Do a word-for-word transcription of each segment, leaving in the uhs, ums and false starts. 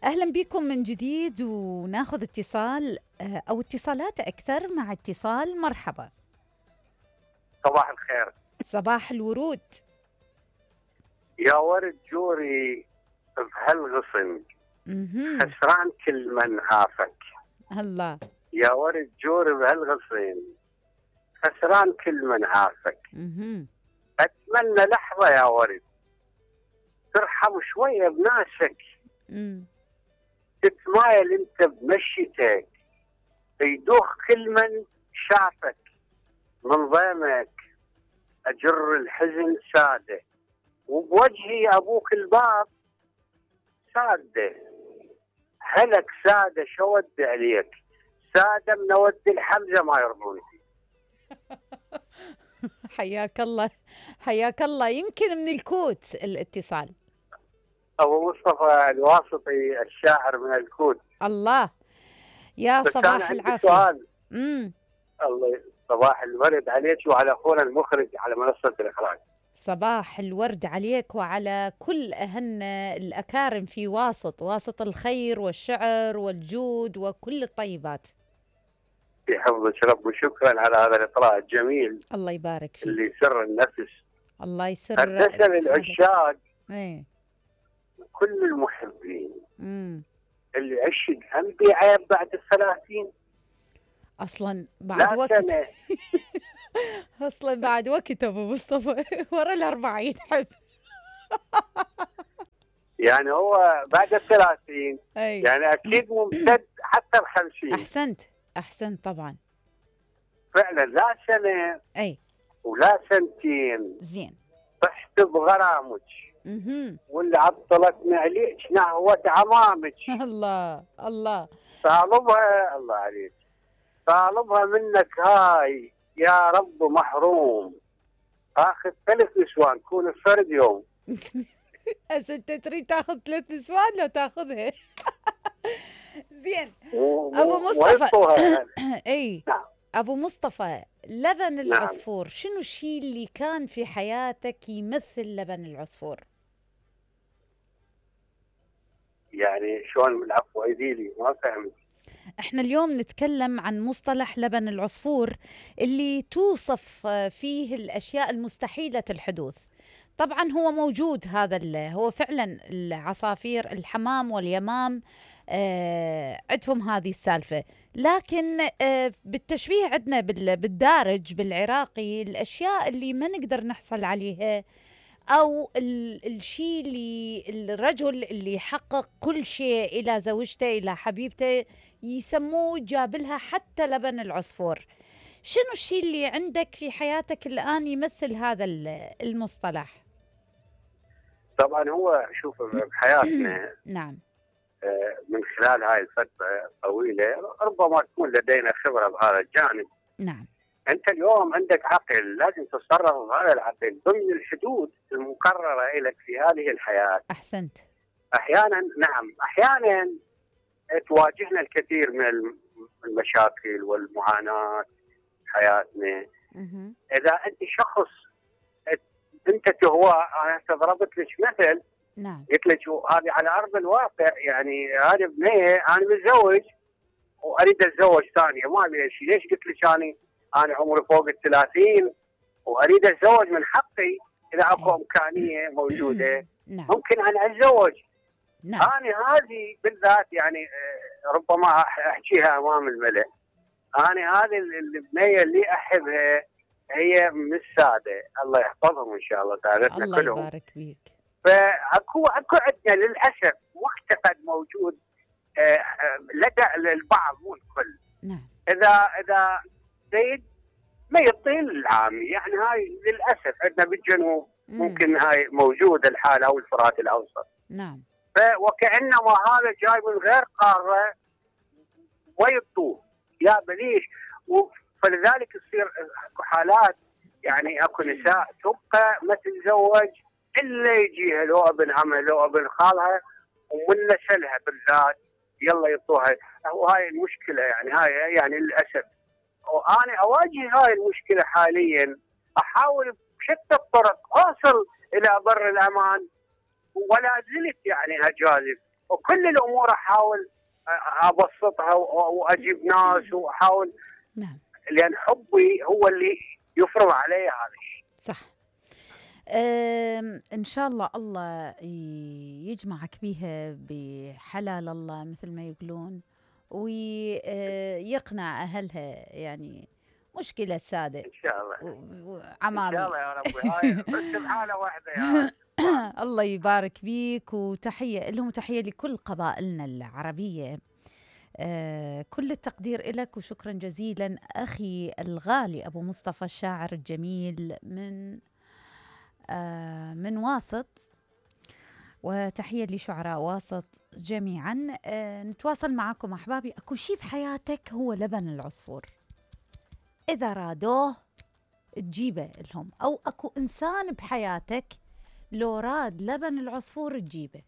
أهلا بكم من جديد وناخذ اتصال آه، أو اتصالات أكثر مع اتصال. مرحبا. صباح الخير. صباح الورود. يا ورد جوري بهالغصن مهم. خسران كل من عافك. الله. يا ورد جوري بهالغصن خسران كل من عافك. مهم. أتمنى لحظة يا ورد ترحم شوية بناسك، مم. تتمايل انت بمشيتك، يدوخ كل من شافك من ضيمك. أجر الحزن سادة وبوجهي أبوك الباب سادة. هلك سادة شود عليك، سادة من ود الحمزة ما يرضون فيه. حياك الله حياك الله. يمكن من الكوت الاتصال. أبو مصطفى الواسطي الشاعر من الكوت. الله. يا بس صباح أنا عندي العافية. سؤال. امم الله صباح الورد عليك وعلى أخونا المخرج على منصة الإخراج. صباح الورد عليك وعلى كل أهلنا الأكارم في واسط واسط الخير والشعر والجود وكل الطيبات. يحفظك رب، وشكرا على هذا الإطراء الجميل الله يبارك فيك. اللي يسر النفس. الله يسر. هندسة للعشاق ايه. كل المحبين امم اللي عشق هم بعيب بعد الثلاثين. اصلا بعد لا وقت سنة. اصلا بعد وقت ابو مصطفى ورا الأربعين حب. يعني هو بعد الثلاثين اي. يعني أكيد ممتد حتى الخمسين. احسنت احسنت طبعا. فعلا لا سنة اي. ولا سنتين زين. طحت بغرامك اها. واللي عطلتني عليك نهوة عمامك. الله الله. طالبها الله عليك، طالبها منك هاي يا رب محروم. اخذ ثلاث نسوان كون الفرد يوم. هسه انت تريد تاخذ ثلاث نسوان لو تاخذها. زين. و- أبو مصطفى. ويبطوها. اي. نعم. ابو مصطفى، لبن العصفور شنو الشيء اللي كان في حياتك يمثل لبن العصفور؟ يعني شلون العفو ايديلي ما فهمت. احنا اليوم نتكلم عن مصطلح لبن العصفور اللي توصف فيه الاشياء المستحيلة الحدوث. طبعا هو موجود هذا ال- هو فعلا العصافير الحمام واليمام آه عندهم هذه السالفة، لكن آه بالتشبيه عندنا بال- بالدارج بالعراقي الاشياء اللي ما نقدر نحصل عليها، او ال- الشيء اللي الرجل اللي يحقق كل شيء الى زوجته الى حبيبته يسموه جاب لها حتى لبن العصفور. شنو الشيء اللي عندك في حياتك الآن يمثل هذا ال- المصطلح؟ طبعا هو شوف بحياتنا نعم. آه، من خلال هاي الفترة الطويلة ربما تكون لدينا خبرة بهذا الجانب. نعم. انت اليوم عندك عقل، لازم تتصرف بهذا العقل ضمن الحدود المقررة لك في هذه الحياة. أحسنت. احيانا نعم احيانا تواجهنا الكثير من المشاكل والمعاناة في حياتنا. مهم. اذا انت شخص انت تهوى، انا ضربت لك مثل نعم. قلت لك هذه على ارض الواقع، يعني هذه بنيه انا متزوج واريد اتزوج ثانيه ما ابي شيء، ليش قلت لك انا انا عمري فوق الثلاثين واريد اتزوج من حقي اذا اكو امكانيه موجوده. نعم. ممكن انا اتزوج. نعم. انا هذه بالذات يعني آه، ربما أح- احكيها امام الملأ. انا هذه البنيه اللي احبها هي من الساده، الله يحفظهم ان شاء الله تعالى الله كلهم. يبارك فيك. فاكو اكو عندنا للاسف معتقد موجود آه، آه، لدى البعض مو الكل. نعم. اذا اذا زيد ما يطيل العامي، يعني هاي للاسف عندنا بالجنوب مم. ممكن هاي موجوده الحاله او الفرات الاوسط. نعم. فوكانما هذا جاي من غير قاره ويطوف يا بليش. فلذلك تصير اكو حالات، يعني اكو نساء تبقى ما تتزوج الا يجيها لو ابن عمها لو ابن خالها ومن نسلها بالذات يلا يطوها. وهاي المشكله، يعني هاي يعني للاسف. وانا اواجه هاي المشكله حاليا، احاول بشتى الطرق اوصل الى بر الامان ولا زلت يعني اجازف وكل الامور احاول ابسطها واجيب ناس واحاول. نعم. لان حبي هو اللي يفرض علي هذا الشيء. صح. ان شاء الله الله يجمعك بيها بحلال الله مثل ما يقولون، ويقنع اهلها. يعني مشكله ساده ان شاء الله. وعمامي ان شاء الله يا ربي. هاي بس بحاله واحده يا الله يبارك بيك، وتحيه لهم، تحيه لكل قبائلنا العربيه. آه كل التقدير لك، وشكرا جزيلا أخي الغالي أبو مصطفى الشاعر الجميل من آه من واسط، وتحية لشعراء واسط جميعا. آه نتواصل معكم أحبابي. أكو شيء بحياتك هو لبن العصفور، إذا رادوه تجيبه لهم، أو أكو إنسان بحياتك لو راد لبن العصفور تجيبه.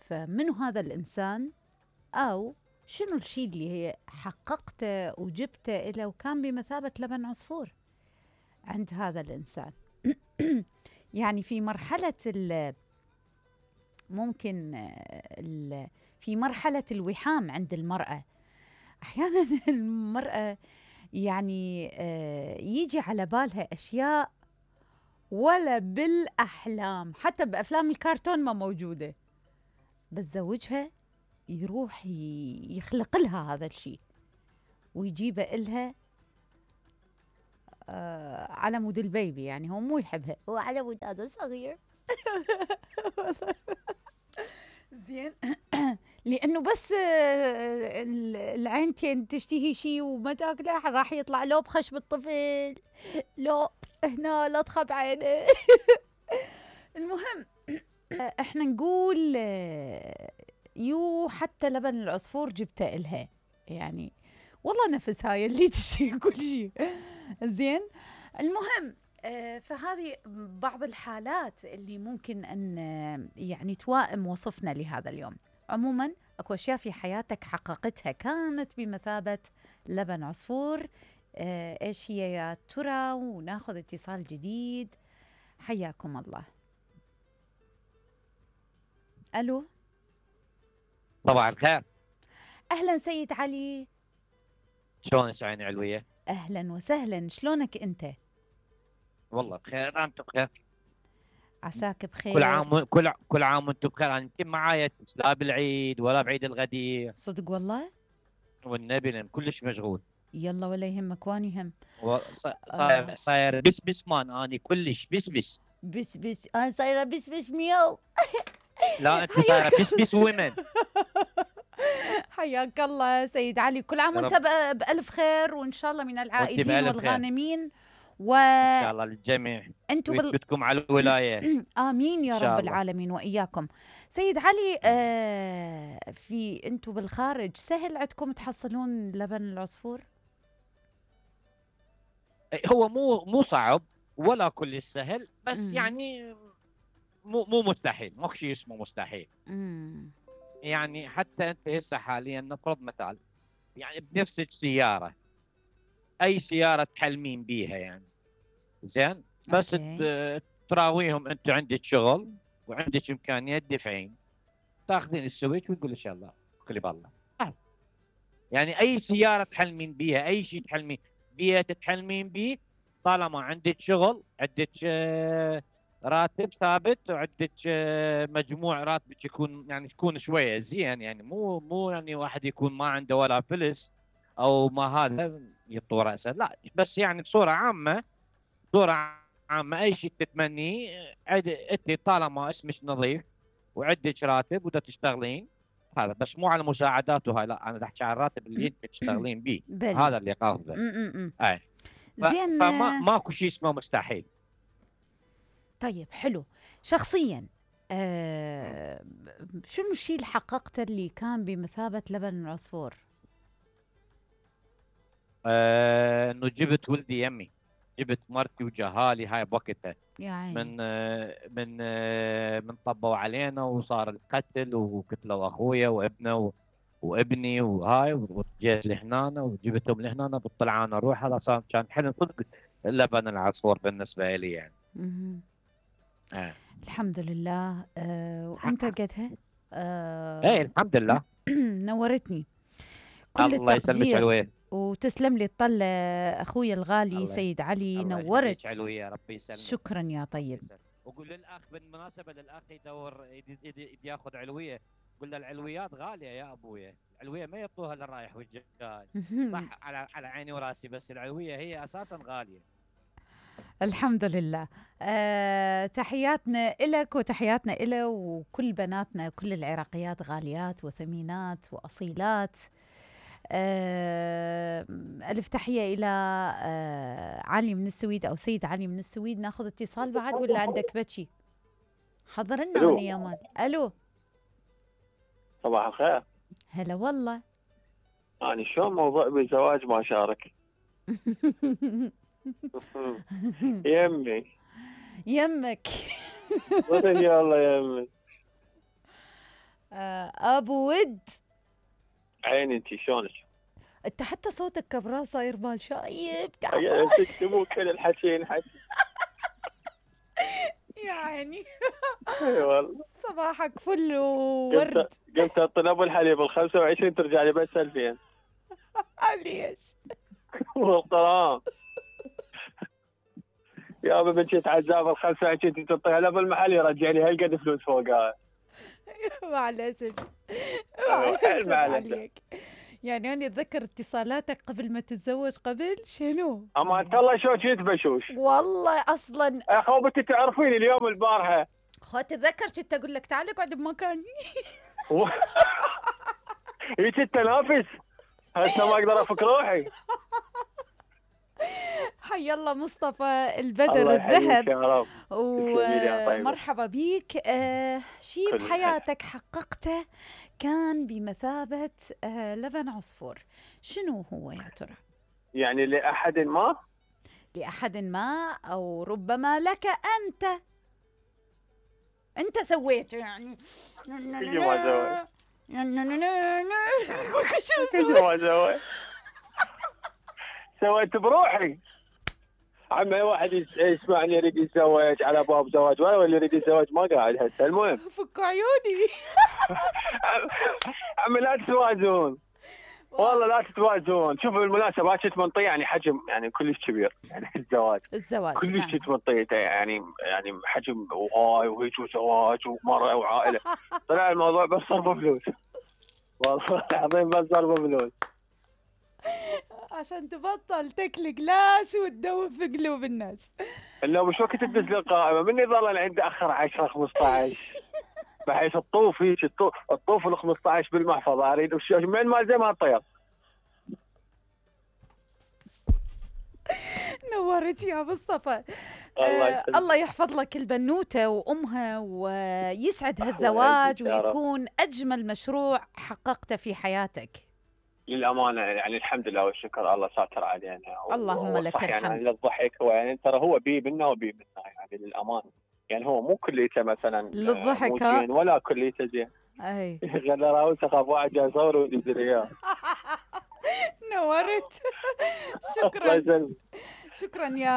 فمنو هذا الإنسان، أو شنو الشيء اللي هي حققته وجبته إلى وكان بمثابة لبن عصفور عند هذا الإنسان. يعني في مرحلة ال ممكن ال في مرحلة الوحام عند المرأة، أحيانا المرأة يعني يجي على بالها أشياء ولا بالأحلام، حتى بأفلام الكرتون ما موجودة، بس زوجها يروح يخلق لها هذا الشيء ويجيبه إلها آه على مود البيبي. يعني هو مو يحبها، هو على مود هذا صغير. زين. لأنه بس العينتين تشتهي شيء وما تاكله، راح يطلع لو بخشب الطفل، لو هنا لا تخب عينه. المهم احنا نقول يو حتى لبن العصفور جبته إلها، يعني والله نفس هاي اللي تشتهي كل شيء. زين. المهم فهذه بعض الحالات اللي ممكن أن يعني توائم وصفنا لهذا اليوم. عموما أكو أشياء في حياتك حققتها كانت بمثابة لبن عصفور. إيش هي يا ترى؟ وناخذ اتصال جديد. حياكم الله. ألو. صباح الخير. أهلا سيد علي. شلونك عيني علوية؟ أهلا وسهلا، شلونك أنت؟ والله بخير، أنت بخير؟ عساك بخير. كل عام كل كل عام وانتم بخير. انا يمكن معايا لا بالعيد ولا بعيد الغدير. صدق والله؟ والنبي لان كلش مشغول. يلا ولا يهمك، واني هم. صاير صاير بس بس مان اني كلش بس بس. بس بس انا صايره بس بس ميو. لا انت صايره بس بس ومن. حياك الله سيد علي، كل عام وانت بألف خير، وان شاء الله من العائدين والغانمين. و ان شاء الله للجميع. انتم ويثبتكم على الولايه. امين يا رب العالمين واياكم. سيد علي، آه في انتم بالخارج سهل عندكم تحصلون لبن العصفور؟ هو مو مو صعب ولا كل سهل، بس م. يعني مو مو مستحيل، ماكو شيء اسمه مستحيل. م. يعني حتى انت هسه حاليا نفرض مثال، يعني بنفسك سياره، اي سياره تحلمين بيها يعني زين، بس تراويهم انت عندك شغل وعندك امكانيه تدفعين، تاخذين السويتش وتقول ان شاء الله كلي بالله. يعني اي سياره تحلمين بيها، اي شيء تحلمين بيت تحلمين بيه، طالما عندك شغل، عندك راتب ثابت، وعندك مجموع راتبك يكون يعني يكون شويه زين، يعني مو مو يعني واحد يكون ما عنده ولا فلس او ما هذا يطور راسه، لا، بس يعني بصوره عامه بصوره عامه اي شيء تتمنيه انت طالما اسمك نظيف وعندك راتب ودا تشتغلين، هذا بس مو على مساعدات وهاي، لا انا احكي عن الراتب اللي انت تشتغلين به، هذا اللي قصده. اي زين. فما ماكو شيء اسمه مستحيل. طيب حلو. شخصيا آه شنو الشيء اللي حققته اللي كان بمثابه لبن العصفور؟ آه انه جبت ولدي يمي، جبت مرتي وجهالي هاي بوقتها من آه من آه من طبوا علينا وصار القتل وقتلوا اخويا وابنه وابني وهاي، وجيت لهنا وجبتهم لهنا بالطلعانه روح. هذا صار كان حلم صدق لبن العصفور بالنسبه لي يعني. اها آه. الحمد لله. آه وانت قدها؟ آه ايه الحمد لله. نورتني. كل الله يسلمك التقدير علويه. وتسلم لي الطلة اخوي الغالي الله سيد علي، الله نورت. يخليك علويه، يا ربي يسلمك. شكرا يا طيب. وقول للاخ بالمناسبه، للاخ يدور يدي يدي يدي ياخذ علويه، قول له العلويات غاليه يا ابويا، العلويه ما يعطوها للرايح والجاي. صح، على على عيني وراسي، بس العلويه هي اساسا غاليه. الحمد لله. أه تحياتنا إلك وتحياتنا إله وكل بناتنا، كل العراقيات غاليات وثمينات وأصيلات. أه ألف تحية إلى أه علي من السويد أو سيد علي من السويد. ناخذ اتصال بعد ولا عندك بتشي؟ حضر لنا ألو. هوني يا مان. ألو، صباح الخير. هلا والله. يعني شلون موضوع بالزواج ما شارك؟ يمي يمك. يا الله يمي. أه أبو ود، عيني انت شلونك؟ انت حتى صوتك كبراه صاير مال شايب تعال. يعني تكتبوا كل الحكي حكي. يا عيني. اي والله. صباحك فل وورد. قمت قمت اطلب الحليب ال خمسة وعشرين ترجع لي بس ألفين. ليش؟ والقران يا ابا بنتي عزاب ال خمسة وعشرين تعطيها له بالمحل يرجع لي هالقد فلوس فوقها. مع الاسف. حيل مع الأسف. عليك. يعني انا اتذكر اتصالاتك قبل ما تتزوج، قبل شنو؟ اما انت الله شو كنت بشوش. والله اصلا يا اخو بنتي تعرفيني اليوم البارحه. خو تتذكر كنت اقول لك تعال اقعد بمكاني. هيك التنافس هسه ما اقدر افك روحي. حي الله مصطفى البدر الله يحييك الذهب، يا رب. تسلمي لي يا طيبة. ومرحبا بيك. آه شيء كل بحياتك حققته كان بمثابة آه لبن عصفور، شنو هو يا ترى؟ يعني لأحد ما؟ لأحد ما أو ربما لك أنت. أنت سويت يعني. كل ما سويت. شو كل ما سويت. سويت بروحي. عم اي واحد يسمعني يريد يتزوج على باب زواج، ولا اللي يريد يتزوج ما قاعد هسه. المهم فك عيوني. عمي لا تتوازون، والله لا تتوازون. شوفوا بالمناسبة كنت منطية يعني حجم يعني كلش كبير، يعني الزواج الزواج كلش نعم. كنت منطيته يعني يعني حجم وهاي وهيك وزواج ومرأة وعائلة. طلع الموضوع بس صرف فلوس، والله العظيم بس صرف فلوس. عشان تبطل تكل جلاس وتدوب في قلوب الناس. انه مش وقت تدز لي القائمة مني ظل عندي اخر عشرة خمسطعش، بحيث الطوف هيك الطوف الطوف ال خمسطعش بالمحفظة اريد من ما زي ما طير. نورت يا مصطفى. الله آه يسلمك. الله يحفظ لك البنوتة وأمها ويسعد هالزواج يا رب. ويكون أجمل مشروع حققته في حياتك. للامانه يعني الحمد لله والشكر، الله ساتر علينا. اللهم لك صح يعني الحمد. الضحك هو يعني ترى هو بي منا وبي منا يعني للامانه. يعني هو مو كليته مثلا للضحك، مو ها؟ زين ولا كليته زين. أي غير راوي سخاف واحد جاي يصور وينزل اياه. نورت. الله شكرا يسلمك. شكرا يا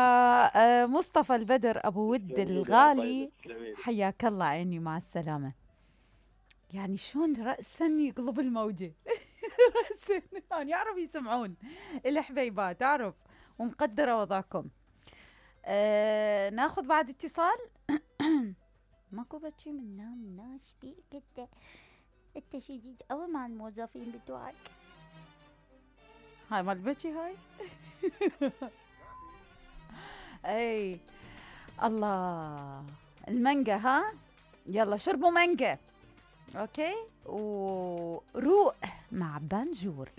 آه، مصطفى البدر أبو ود الغالي. حياك الله عيني، مع السلامة. يعني شلون رأسا يقلب الموجة. رأسا يعني يعرف يسمعون الحبيبات، تعرف ومقدرة وضعكم. آه ناخذ بعد اتصال. ماكو بتشي منا منا ايش بيك انت؟ انت شديد قوي مع الموظفين بتوعك. هاي مال بتشي هاي. اي الله المانجا، ها يلا شربوا مانجا. اوكي وروق مع بانجور.